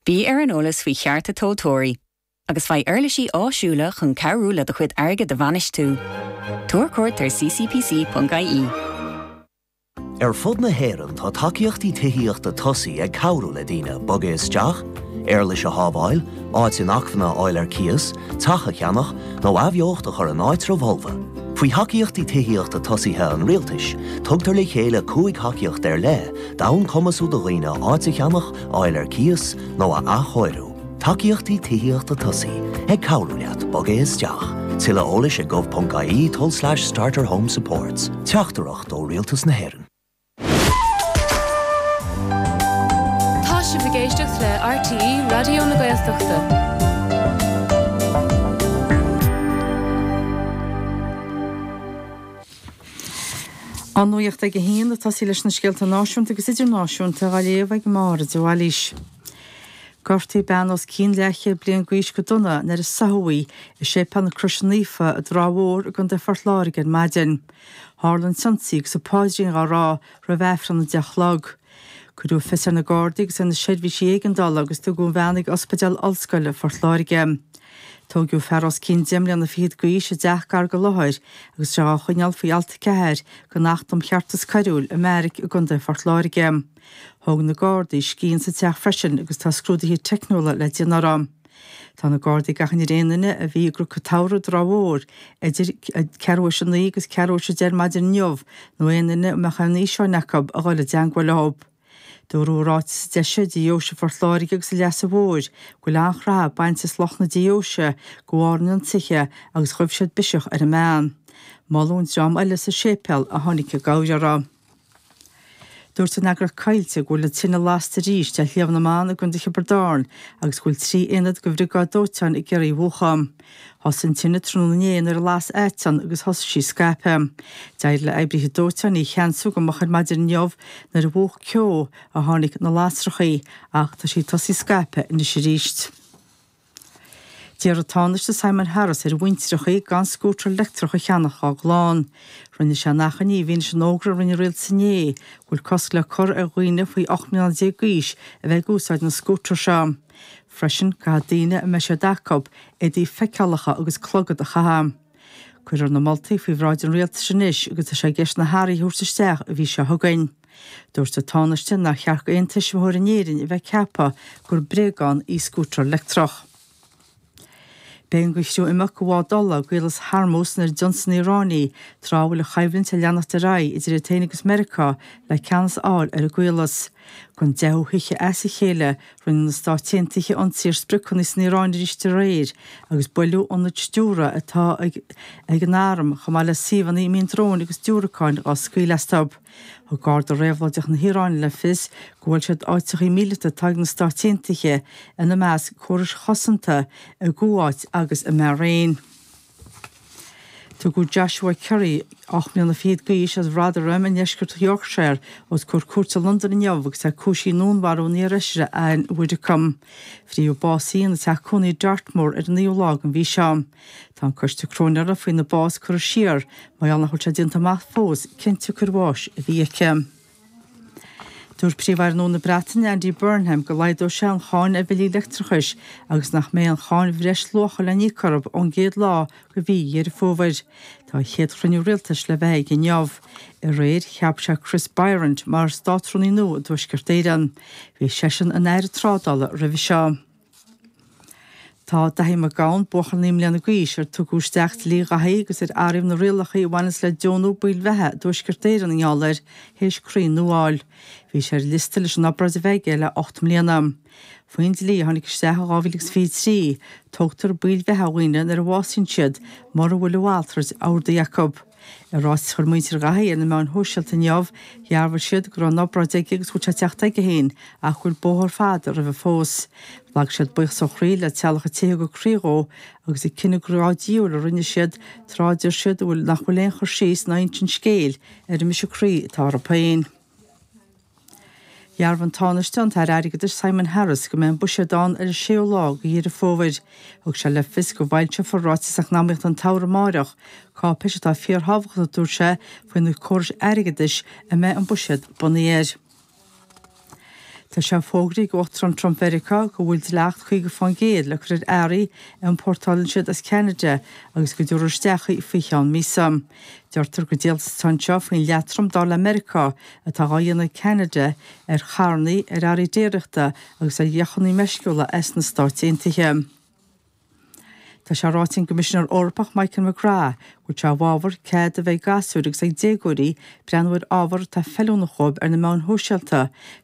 Bí ar an eolas faoi chearta tomhaltóirí agus faigh uirlisí áisiúla chun cabhrú le do chuid airgid a bhainistiú. Tabhair cuairt ar ccpc.ie. Ar fud na hÉireann tá tacaíochtaí tithíochta tosaigh ag cabhrú le daoine bogadh isteach, éarlais a shábháil, áit inacmhainne a fháil ar cíos, teach a cheannach, nó athbheocht a chur in áitreabh fholmha. Faoi Thacaíochtaí Tithíochta Tosaithe an Rialtais, tugtar le chéile 5 thacaíocht ar leith d'fhonn cumasú do dhaoine áit a cheannach, a fháil ar cíos nó a athchóiriú. Tacaíochtaí Tithíochta Tosaigh, ag cabhrú leat bogadh isteach. Tuilleadh eolais ag gov.ie tulslais starter home supports. Teachtaireacht ó Rialtas na hÉireann. Tá sibh ag éisteacht le RTÉ Raidió na Gaeltachta. An nuacht ag a haon, ag tosaí leis na scéalta náisiúnta agus idirnáisiúnta á léamh ag Máire de Bhailís. Gortaíodh bean os cionn leathchéad bliain d'aois go dona nuair a sáthadh í i Séipéal na Croise Naofa i dTrá Mhór i gContae Phort Láirge ar maidin. Tharla an t-ionsaí agus an paidrín á rá roimh Aifreann a 10 a chlog. Cuireadh fios ar na Gardaí agus ar na seirbhísí éigeandála agus tugadh an bhean ag Ospidéal Ollscoile Phort Láirge. Tóigeadh fear os cionn deich mbliana fichead d'aois i dteach gar don láthair agus é á choinneáil faoi Alt 4 den Acht um Cheartas Coiriúil i mbeairic i gContae Phort Láirge. Thóg na Gardaí scian sa teach freisin agus tá scrúduithe teicniúla le déanamh orthu. Tá na Gardaí ag achainí ar aon duine a bhí i gCnoc an tSamhraidh i dTrá Mhór idir ceathrú théis a 9 agus ceathrú théis a 10 ar maidin inniu nó aon duine a mbeadh aon fhíseáin acu a dhul i dteangmháil leo. Dúradh i ráiteas a d'eisigh Deoise Phort Láirge agus an Leasa Mhóir go bhfuil an-chreathadh bainte as lucht na deoise de bharr an ionsaithe agus ghaibh siad biseach ar an mbean. Moladh an dream eile sa séipéal a tháinig i gcabhair uirthi. Dúirt an eagraíocht Coillte go bhfuil an tine lasta arís ar Shliabh na mBan i gContae Thiobraid Árann agus go bhfuil 3 aonad de bhriogáid dóiteáin ag iarraidh í a mhúchadh. Thosaigh an tine tráthnóna inné nuair a las aiteann agus thosaigh sí ag scaipeadh. D'éirigh le oibrithe dóiteáin í a cheansú go moch ar maidin inniu nuair a mhúch ceo a tháinig na lasrachaí ach tá sí ag tosaí scaipeadh anois arís. D'iarr an Tánaiste Simon Harris ar mhuintreachaí gan scútar leictreach a cheannach dá gclann. Rinne sé an achainí i bhfianaise an fhógra a rinne an rialtas inné go bhfuil cosc le cur ar dhaoine faoi 18 mbliana d'aois a bheith ag úsáid na scútar seo. Freisin, caithfidh daoine a mbeidh siad acu éadaí feiceálacha agus clogad a chaitheamh. Cuirfear na moltaí faoi bhráid an rialtais anois agus tá sé i gceist na hathruithe a thabhairt isteach an mhí seo chugainn. Dúirt an Tánaiste nár cheart d'aon tuismitheoir in Éirinn a bheith ag ceapadh gur bréagán í scútar leictreach. B'éigean do chriú imeacht de bhád ola i gCaolas Hormuz nuair a d'ionsaigh an Iaráin í, tráth a bhfuil an choimhlint ag leanacht ar aghaidh idir iad féin agus Meiriceá le ceannas a fháil ar an gcaolas. Don deichiú hoíche as a chéile, rinne na Stáit Aontaithe ionsaí ar spriocanna san Iaráin arís aréir agus buaileadh ionaid stiúrtha atá ag an arm chomh maith le suíomhanna a mbíonn dróin agus diúracáin á scaoileadh astu. Thug Garda Réabhlóideach na hIaráine le fios go bhuail siad áiteachaí míleata atá ag na Stáit Aontaithe, ina measc córais chosanta, i gCuáit agus i mBairéin. Tugadh Joshua Currie, 8 mbliana fichead d'aois, as Rotherham i ndeisceart Yorkshire, os comhair cúirte i Londain inniu agus é cúisithe i ndúnmharú an iarfheisire Ann Widdecombe. Frítheadh bás í ina teach cónaí i Dartmoor ar an naoú lá den mhí seo. Tá an coiste cróinéara faoina bás curtha siar mar gheall nach bhfuil sé déanta amach fós cén tsiocair bháis a bhí aici. Dúirt Príomh-Aire nua na Breataine, Andy Burnham, go laghdóidh sé an cháin ar bhillí leictreachais agus nach mbeidh aon cháin bhreisluacha le n-íoc orthu ón gcéad lá de mhí Dheireadh Fómhair. Tá a chéad chruinniú rialtais le bheith aige inniu. Aréir, cheap sé Chris Bryant mar Státrúnaí nua i dTuaisceart Éireann. Bhí seisean ina Aire Trádála roimhe seo. Tá Daithí Mac Gabhann, buachaill 9 mbliana d'aois, ar tugadh isteach dlí Dhaithí agus ar athraíodh na rialacha a bhaineas le deonú baill bheatha i dTuaisceart Éireann i ngeall air, théis croí nua a fháil. Bhí sé ar an liosta leis an obráid a bheith aige le 8 mbliana. Faoin dlí a tháinig isteach in 2023, tógtar baill bheatha ó dhaoine nuair a bhásaíonn siad mura bhfuil a mhalrait ordaithe acu. I ráiteas a chuir muintir Dhaithí ar na meáin shóisialta inniu, dhearbhaigh siad go raibh an obráid aige agus go bhfuil sé ag teacht aige féin ach go bhfuil bóthar fada roimhe fós. Ghlac siad buíochas ó chroí le teaghlach an té a thug a gcroí dhó agus an cinneadh grá-diabhail a rinne siad tráth a deir siad nach bhfuil aon chur síos ná insint scéil ar an mbriseadh croí atá orthu féin. Dhearbhaigh an Tánaiste, an tAire Airgeadais Simon Harris go mbeidh an Buiséad ann ar an séú lá de Dheireadh Fómhair. Thug sé le fios go bhfoilseofar Ráiteas Eacnamaíochta an tSamhraidh amáireach, cáipéis atá fíorthábhachtach a dúirt sé faoi na córais airgeadais a mbeidh an Buiséad bunaithe air. Tá sé fógraithe ag Uachtarán Trump Mheiriceá go bhfuil dleacht 50% le cur ar earraí a iompórtálann siad as Ceanada agus go dtabharfar isteach í faoi cheann míosa. Deirtear gur díoltas atá anseo faoin leatrom dar le Meiriceá atá dhá dhéanamh ag Ceanada ar charrannaí, ar earraí déiríochta agus ar dheochanna meisciúla as na Stáit Aontaithe. Tá sé ráite ag an gCoimisinéir Eorpach Michael McGrath go bhfuil sé i bhfabhar cead a bheith ag gasúir agus ag déagóirí breathnú ar ábhar atá feiliúnach dhóibh ar na meáin shóisialta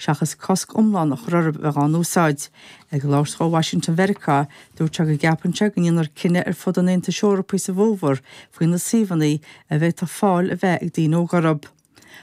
seachas cosc iomlán a chur orthu a bheith dhá n-úsáid. Ag labhairt dhó i Washington Mheiriceá, dúirt sé go gceapann sé go ndéanfar cinneadh ar fud an Aontais Eorpaigh sa bhfómhar faoi na suíomhanna a bhféadfadh fáil a bheith ag daoine óga orthu.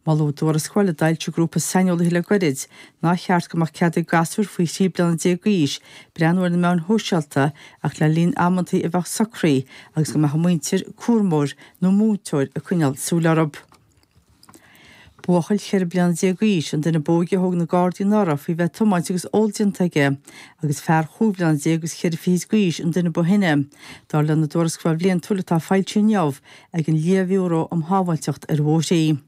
Moladh i dtuarascáil a d'fhoilsigh grúpa saineolaithe le goirid nár cheart go mbeadh cead ag gasúir faoi thrí bliana déag d'aois breathnú ar na meáin shóisialta ach le linn amantaí a bheadh socraithe agus go mbeadh a muintir, cúramóir nó múinteoir ag coinneáil súil orthu. Buachaill 14 bliana d'aois an duine ab óige a thóg na Gardaí anuraidh faoi bheith ag tiomáint agus ól déanta aige agus fear chúig bhliana déag agus cheithre fichid d'aois an duine ba shine, dar lena dtuarascáil bhliantúil atá foilsithe inniu ag an Lia-Bhiúró um Shábháilteacht ar Bhóithre.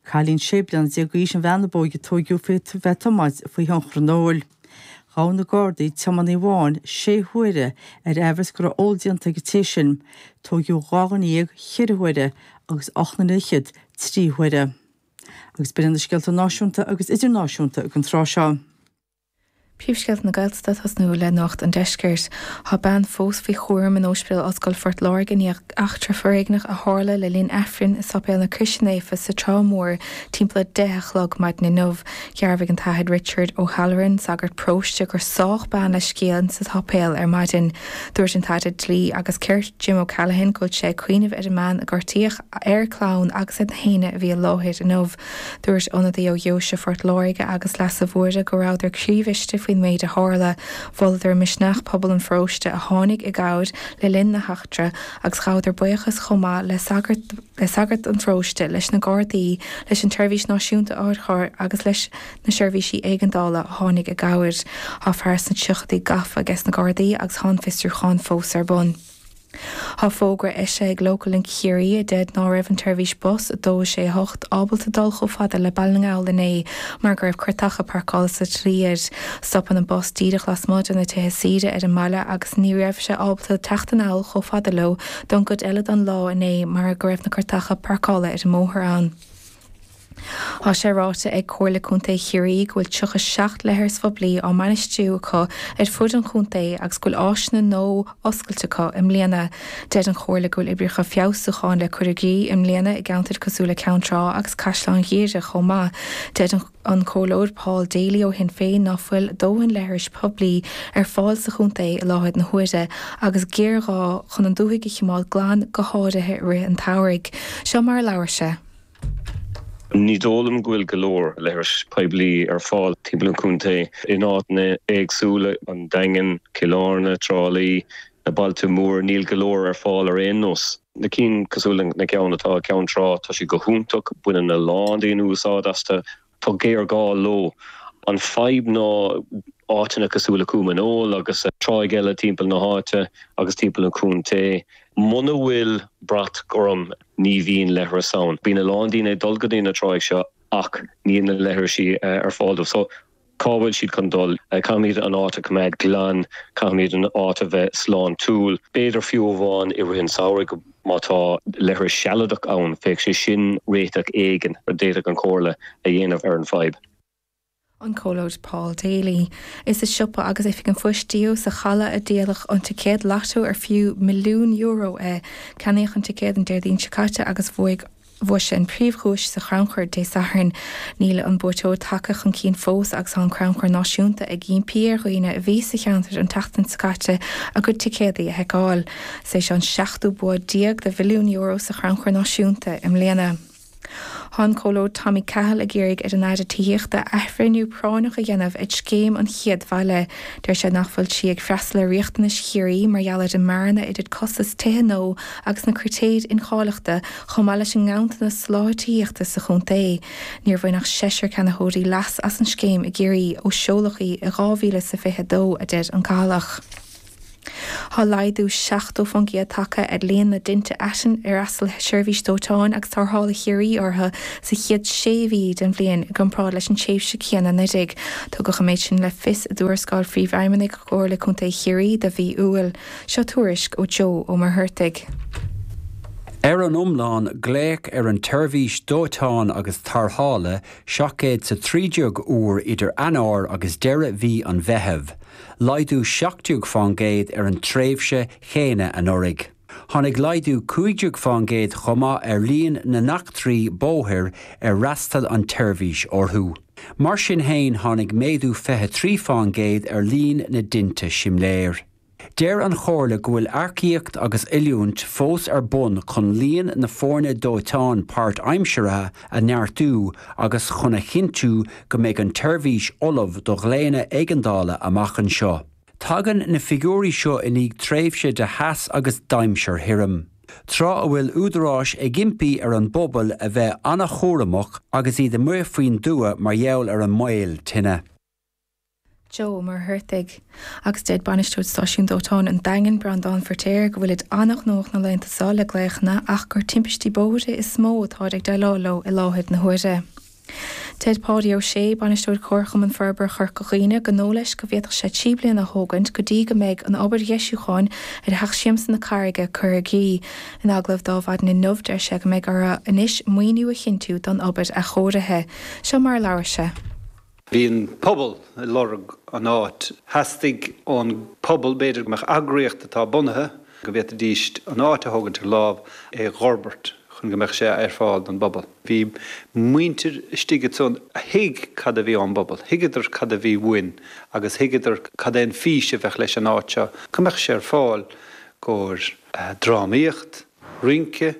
Cailín 16 bliana d'aois an bhean ab óige a tóigeadh faoi bheith ag tiomáint faoi thionchar an óil. Ghabh na Gardaí tiománaí amháin sé huaire ar aimhreas go raibh ól déanta ag an té sin. Tóigeadh 12 dhuine cheithre huaire agus 8 nduine fhichead trí huaire. Agus b'in iad na scéalta náisiúnta agus idirnáisiúnta ag an tráth seo. Príomhscéalta na Gaeltachta ag tosnú le Nuacht an Deiscirt. Tá bean fós faoi chúram in Ospidéal Ollscoile Phort Láirge i ndiaidh eachtra foréigneach a tharla le linn Aifrinn i Sáipéal na Croise Naofa sa Trá Mhór timpeall a 10 a chlog maidin inniu. Dhearbhaigh an tAthair Richard O'Halloran, sagart paróiste, gur sádh bean le scian sa tsáipéal ar maidin. Dúirt an tAire Dlí agus Cirt, Jim O'Callaghan go bhfuil sé ag cuimhneamh ar an mbean a gortaíodh, ar a clann agus ar na héinne a bhí i láthair inniu. Dúirt ionadaí ó Dheoise Phort Láirge agus Leasa Mhóire go rabhadar croíbhriste faoin méid a tharla. Mholadar misneach pobal an pharóiste a tháinig i gcabhair le linn na heachtra agus ghabhadar buíochas chomh maith le sagart le sagart an pharóiste, leis na Gardaí, leis an tSeirbhís Náisiúnta Otharcharr agus leis na seirbhísí éigeandála a tháinig i gcabhair. Tá fear sna tríochaidí gafa ages na Gardaí agus tá an fiosrúchán fós ar bun. Tá fógra eisithe ag Local Link Chiarraí a deir ná raibh an tseirbhís bus 2 6 8 ábalta dul chomh fada le Baile na nGall inné mar go raibh cairteacha páirceála sa tslí air. Stopann an bus díreach lasmuigh de na tithe saoire ar an mbaile agus ní raibh sé ábalta teacht anall chomh fada leo don gcuid eile don lá inné mar go raibh na cairteacha páirceála ar an mbóthar ann. Tá sé ráite ag Comhairle Contae Chiarraí go bhfuil 37 leithreas phoiblí á mbainistiú acu ar fud an chontae agus go bhfuil áiseanna nua oscailte acu i mbliana. Deir an Chomhairle go bhfuil oibreacha feabhsúcháin le cur i gcrích i mbliana i gceantair cosúil le Ceann Trá agus Caisleán Ghuaire chomh maith. Deir an Comhairleoir Paul Daly ó Shinn Féin ná fuil dóthain leithris poiblí ar fáil sa chontae i láthair na huaire agus géarghá chun an dúthaigh a chimeád glan go háirithe i rith an tsamhraidh. Seo mar a labhair sé. Ní dóigh liom go bhfuil go leor leithris poiblí ar fáil timpeall an chontae in áiteanna éagsúla, an Daingean, Cill Airne, Trá Lí, na bailte móra, níl go leor ar fáil ar aon nós. Na cinn cosúil le na ceann atá i gCeann Trá, tá siad go hiontach, baineann a lán daoine úsáid astu, tá géarghá leo. An fadhb ná áiteanna cosúil le Cúm an Óil agus tráigh eile timpeall na háite agus timpeall an chontae. Muna bhfuil brat gorm ní bhíonn leithreas ann. Bíonn a lán daoine ag dul go dtí na tráigh seo ach níl na leithrisí ar fáil dóibh. So cá bhfuil siad chun dul? Caithfimid an áit a choimeád glan, caithfimid an áit a bheith sláintiúil. B'fhéidir fiú amháin i rith an tsamhraidh má tá leithreas sealadach ann, bheadh sé sin réiteach éigin a d'fhéadfadh an Chomhairle a dhéanamh ar an bhfadhb. An Comhairleoir Paul Daly. Is i siopa agus Oifig an Phoist Dió sa Chaladh a díoladh an ticéad lató ar fiú €1,000,000 é. Ceannaíodh an ticéad an Déardaoin seo caite agus bhuaigh Bhuaigh sé an príomhdhuais sa chrannchur Dé Sathairn. Níl an buaiteoir tagtha chun cinn fós agus tá an Crannchur Náisiúnta ag impí ar dhaoine a bhí sa cheantar an tseachtain seo caite a gcuid ticéadaí a sheiceáil. Is é seo an seachtú bua déag de €1,000,000 sa Chrannchur Náisiúnta i mbliana. Tá an Comhairleoir Tommy Cahill ag iarraidh ar an Aire Tithíochta athbhreithniú práinneach a dhéanamh ar Scéim an Chéad Bhaile. Deir sé nach bhfuil sí ag freastal ar riachtanais Chiarraí mar gheall ar an mbearna idir costas tithe nua agus na critéir incháilitheachta chomh maith leis an nganntanas soláthair tithíochta sa chontae. Níor bhain ach seisear ceannaitheoirí leas as an scéim i gCiarraí ó seoladh í i 2022, a deir an Cathalach. Tá laghdú 70% tagtha ar líon na dtinte aiteann ar fhreastail Seirbhís Dóiteáin agus Tarrthála Chiarraí orthu sa chéad sé mhí den bhliain i gcomparáid leis an tréimhse chéanna anuraidh. Tugadh an méid sin le fios i dtuarascáil Phríomhfheidhmeannaigh Chomhairle Contae Chiarraí do mhí Iúil. Seo tuairisc ó Joe Ó Muircheartaigh. Ar an iomlán, glaodh ar an tseirbhís dóiteáin agus tarrthála 713 uair idir Eanáir agus deireadh mhí an Mheithimh. laghdú 17% ar an tréimhse chéanna anuraidh. Tháinig laghdú 15% chomh maith ar líon na n-eachtraí bóthair ar fhreastail an tseirbhís orthu. Mar sin féin, tháinig méadú 23% ar líon na dtinte simléir. Deir an Chomhairle go bhfuil earcaíocht agus oiliúint fós ar bun chun líon na foirne dóiteáin páirtaimseartha a neartú agus chun a chinntiú go mbeidh an tseirbhís ullamh do ghlaonna éigeandála amach anseo. Tagann na figiúirí seo i ndiaidh tréimhse de theas agus d'aimsir thirim, tráth a bhfuil údaráis ag impí ar an bpobal a bheith an-chúramach agus iad amuigh faoin dtuath mar gheall ar an mbaol tine. Joe Ó Muircheartaigh. Agus deir bainisteoir Stáisiún Dóiteáin an Daingin, Breandán Feirtéar, go bhfuilid an-ghnóthach na laethanta seo le glaochanna ach gur timpistí bóithre is mó atáid ag déileáil leo i láthair na huaire. Deir Páidí Ó Sé, bainisteoir Chomharchumann Forbartha Chorca Dhuibhne, gur dóigh leis go bhféadfadh sé 3 bliana a thógaint go dtí go mbeidh an obair dheisiúcháin ar Theach Siamsa na Carraige curtha i gcrích. In agallamh dó ar maidin inniu, deir sé go mbeidh orthu anois maoiniú a chinntiú don obair athchóirithe. Seo mar a labhair sé. Bhí an pobal ag lorg an áit. Theastaigh ón pobal, b'fhéidir, go mbeadh eagraíocht atá bunaithe, go bhféadfaidís an áit a thógaint ar lámh, é dh'fhorbairt chun go mbeadh sé ar fáil don bpobal. Bhí muintir istigh ansan a thuig cad a bhí ón bpobal, thuigeadar cad a bhí uainn agus thuigeadar cad é an fís a bheadh leis an áit seo, go mbeadh sé ar fáil gcomhair drámaíocht, rince,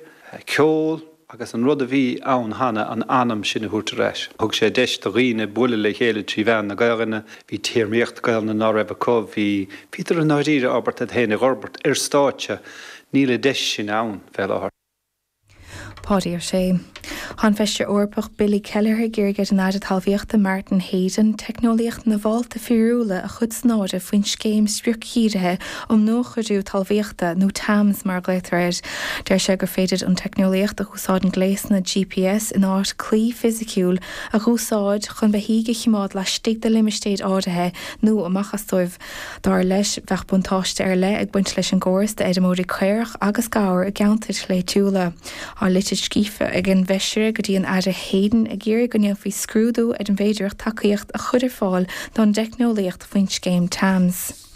ceol agus an rud a bhí ann cheana, an anam sin a thabhairt ar ais. Thug sé deis do dhaoine bualadh le chéile trí mheán na Gaelainne, bhí téarmaíocht Gaelainne ná raibh acu, bhí, bhíodar i ndáiríre ábalta iad féin a dh'fhorbairt ar stáitse, níl an deis sin ann fé láthair. Páidí Ó Sé. Tá an Feisire Eorpach Billy Kelleher ag iarraidh ar an Aire Talmhaíochta Martin Heydon teicneolaíocht na bhfálta fíorúla a chur san áireamh faoin scéim spriocdhírithe um Nuachóiriú Talmhaíochta, nó TAMS mar a ghlaotar air. Deir sé gur féidir an teicneolaíocht a úsáideann gléasanna GPS in áit claí fisiciúil a dh'úsáid chun beithígh a chimeád laistigh de limistéir áirithe nó amach as dóibh. Dar leis, bheadh buntáiste ar leith ag baint leis an gcóras d'fheirmeoirí caorach agus gabhar i gceantair shléibhtiúla. Tá litir scríofa ag an bhFeisire go dtí an Aire Heydon ag iarraidh go ndéanfaí scrúdú ar an bhféidearthacht tacaíocht a chur ar fáil don dteicneolaíocht faoin scéim TAMS.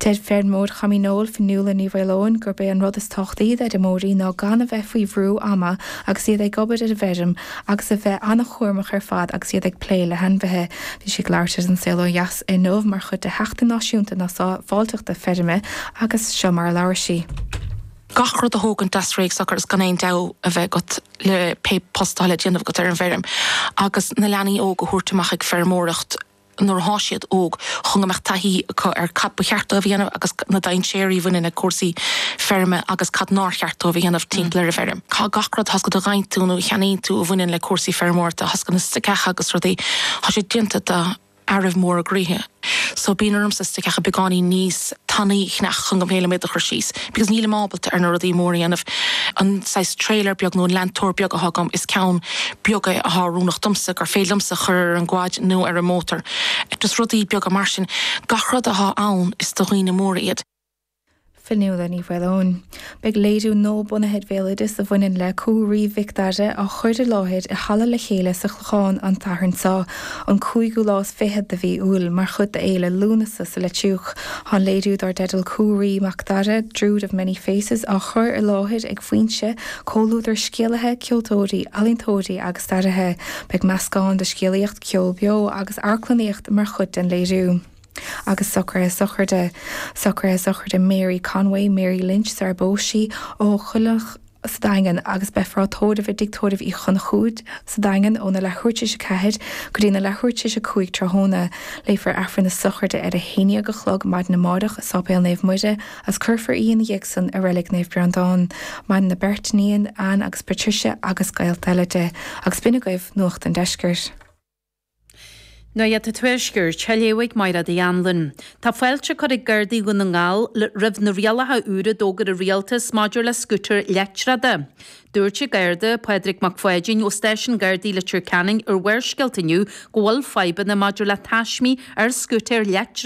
Deir feirmeoir Choim Fhionnghail, Fionnuala Ní Mhaoileoin, gurb é an rud is tábhachtaí d'fheirmeoirí ná gan a bheith faoi bhrú ama agus iad ag obair ar an bhfeirm agus a bheith an-chúramach ar fad agus iad ag plé le hainmhithe. Bhí sí ag labhairt ar An Saol Ó Dheas inniu mar chuid de Sheachtain Náisiúnta na Sábháilteachta Feirme agus seo mar a labhair sí. Gach rud a thógaint deas réidh socair is gan aon dabht a bheith agat le pé post atá le déanamh agat ar an bhfeirm agus na leanaí óga a thabhairt amach ag feirmeoireacht nuair athá siad óg chun go mbeadh taithí acu ar cad ba cheart dóibh a dhéanamh agus na dainséirí a bhaineann le cúrsaí feirme agus cad nár cheart dóibh a dhéanamh timpeall ar an bhfeirm. Tá gach rud, tá a fhios agat a gheibheann tú nó a cheannaíonn tú a bhaineann le cúrsaí feirmeoireachta, tá a fhios agat na stoiceacha agus rudaí, tá sé déanta do fhearaibh móra gnoithe. So bíonn ormsa stoiceacha beagáinín níos tanaí a cheannach chun go mb'fhéidir liom iad a chur síos because nílim ábalta ar na rudaí móra a dhéanamh. An saghas trailer beag nó an leantóir beag athá agam is ceann beag é athá oiriúnach domsa gur féidir liomsa a chur ar an gquad nó ar an mótar. Just rudaí beaga mar sin. Gach rud athá ann is do dhaoine móra iad. Fionnuala Ní Mhaoileoin. Beidh léiriú nua bunaithe ar bhéaloideas a bhaineann le Cú Raoi Mhic Dara á chur i láthair i Halla Le Chéile sa Chlochán an Satharn seo, an cúigiú lá is fichead de mhí Iúil, mar chuid d'Fhéile Lúnasa sa Leitriúch. Tá an léiriú dár dteideal Cú Raoi Mac Dara, Druid of Many Faces á chur i láthair ag Foinse, comhluadar scéalaithe, ceoltóirí, ealaíontóirí agus staraithe. Beidh meascán de scéalaíocht, ceol beo agus amharclannaíocht mar chuid den léiriú. Agus socruithe sochraide. Socruithe sochraide Mary Conway, Mary Lynch sar a bpós sí, ó Choilleach sa Daingean agus beifear á tórramh i dTigh Tórraimh Uí Chonchúir sa Daingean óna leathuair tar éis a 4 go dtí na leathuair tar éis a 5 tráthnóna. Léifear Aifreann na sochraide ar a 11 a chlog maidin amárach i Sáipéal Naomh Muire agus cuirfear í ina dhiaidh san i Reilig Naomh Breandán. Maireann a beirt iníon, Anne agus Patricia agus gaolta eile di. Agus b'in agaibh Nuacht an Deiscirt. Nuacht an Tuaiscirt, á léamh ag Máire Uí Anluain. Tá fáilte curtha ag Gardaí Dhún na nGall roimh na rialacha úra a d'fhógair an Rialtas maidir le scútair leictreacha. Dúirt an Garda, Pádraig Mac Pháidín ó Stáisiún Gardaí Leitir Ceanainn ar Bharrscéalta inniu go bhfuil fadhbanna maidir le taismí ar scútair leictreacha.